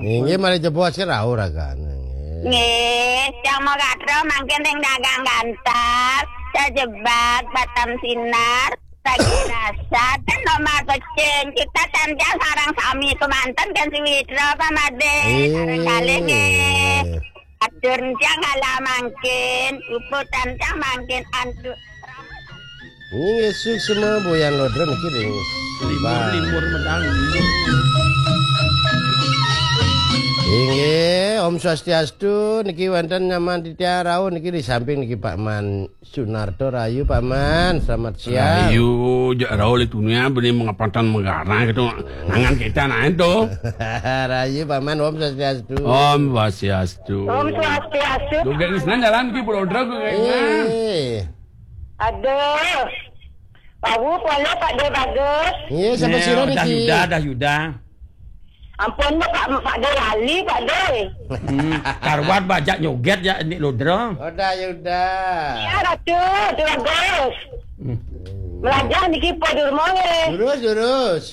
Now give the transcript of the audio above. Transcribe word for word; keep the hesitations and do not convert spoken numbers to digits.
Inggih, malih jebos rauh ragane. Nggih, Cang Mogatra mangkin ring dagang gantar, Cajebag, Batam Sinar, Tagih Rasa, ten nomor pecing. Kita ten Cang sareng sami kemanten ten Sawitra, Pak Made. Sareng kalih nggih. Atur Cang kala mangkin, puputan Cang mangkin antuk. Inggih, suksma Boyan Lodra niki ring Limur, Bang. Limur medal. Inggih, Om Swastiastu, niki wonten Nyaman Titiang rauh niki di samping niki Pak Man Sunarto, rahayu Pak Man, selamat siang. Rahayu, jak rauh le dunia beli mengapatan megara gitu. Angan kita naik tuh. Rahayu Pak Man, Om Swastiastu. Om Swastiastu. Om Swastiastu. Duh, gak ngisnan jalan ki Pulau Dra, gak ngisnan. Eh. Aduh. Baru pula Pak De Bagus. Iya, siapa sira dah niki? Yuda, dah Yuda. Ampun, Pak, Pak De lali, Pak De. Hmm, karwat bajak nyoget ya, Nik Lodra. Oh, dah Yuda. Ya, Ratu, De Bagus. Hmm. Melajah niki Pak Durmo nggih. Lurus, lurus.